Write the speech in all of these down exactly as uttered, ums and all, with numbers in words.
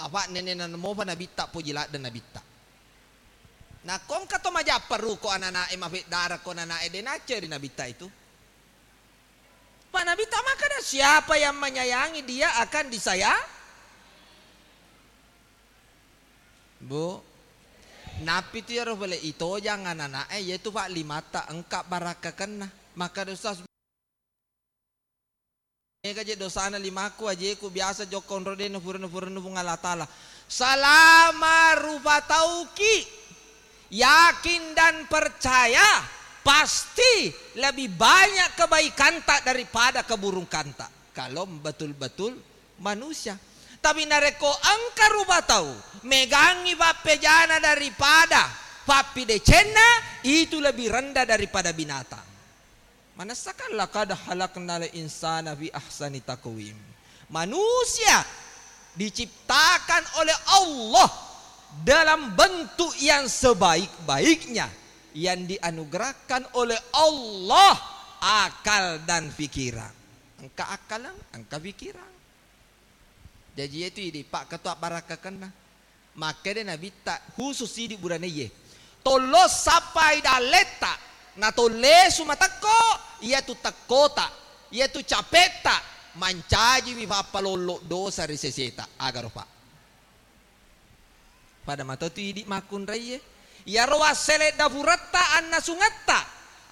Apa nenena mopa nabitta, poji ladde nabitta. Nakko engka to majapparu ko anana'e, mafeddarako anana'e, de nacceri nabitta itu. Pak nabitta makkeda, "Siapa yang menyayangi dia akan disaya-," Bu, nappi tu iyaro pole itojang anana'e, iyatu Pak limatta engka barakkakenna. Makkeda, "Ustaz, mega je dosana limaku, ajeku biasa jokka onro de nafurennu-furennu Puang Allah Ta'ala." Selama rupa tauki yakin dan percaya, pasti lebih banyak kebaikanta daripada keburukanta. Kalau betul-betul manusia. Tapi narekko engka rupa tau megangngi pappejana daripada pappidecenna, itu lebih rendah daripada binatang. Manessakan, "Laqad khalaqnal insana fi ahsani taqwim." Manusia diciptakan oleh Allah dalam bentuk yang sebaik-baiknya, yang dianugerahkan oleh Allah akal dan pikiran. Engka akkaleng, engka pikiran. Jaji, iyatu idi pakketua barakkakenna. Makkeda nabitta khusus idi buraneye. Tollo sappai dalletta, natollesu matekko, iyatu tekkota, iyatu capetta, mancajiwi fappalollo dosa ri seseta. Agaro, Pak? Pada mato tu idi makkunraiye. Iyaro wassele dapuretta, annasungetta,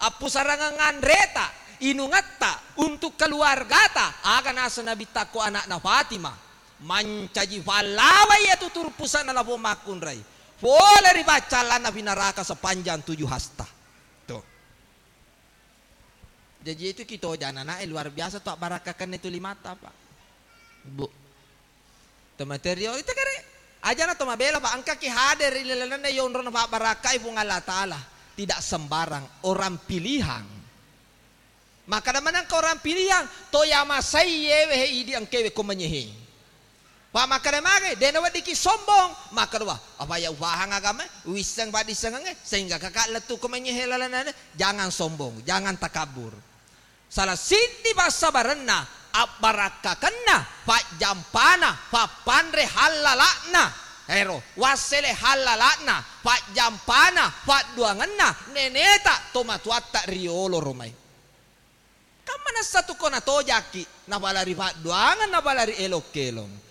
appusarangeng anreta, inungetta, untuk keluargata, aga naseng nabitta ko anakna Fatimah. Mancaji pallawa iyatu turpusana lapong makkunrai. Pole ri paccallanna pi naraka sepanjang tujuh hasta. Tuh. Jaji itu kito janana, eh, luar biasa tu abbarakkakenna itu limata, Pak. Bu. Tematerio itu kare. Ajana to mabela, Pak, engkaki hadir ri lalenna yonrona pabbarakkai Puang Allah Ta'ala. Tidak sembarang orang pilihan. Makkeda maneng engka orang pilihan, to yamasai yewe he idi engkewe ko manyehe. Pak makkeda mage, de naweddiki sombong. Makkeda, "Wah, apa ya ufahang agama, uwisseng paddissengengnge, sehingga kakak lettu ko manyehe lalenna." Jangan sombong, jangan takabur. Salah siddi passabarenna, abbarakkakenna, pajjampana, pappanre hallala'na. Ero, wassele hallala'na, pajjampana, padduangenna, neneta, tomatuatta riolo romai. Kan manessa tu ko natojaki, napalari padduangeng, napalari elok-kelong.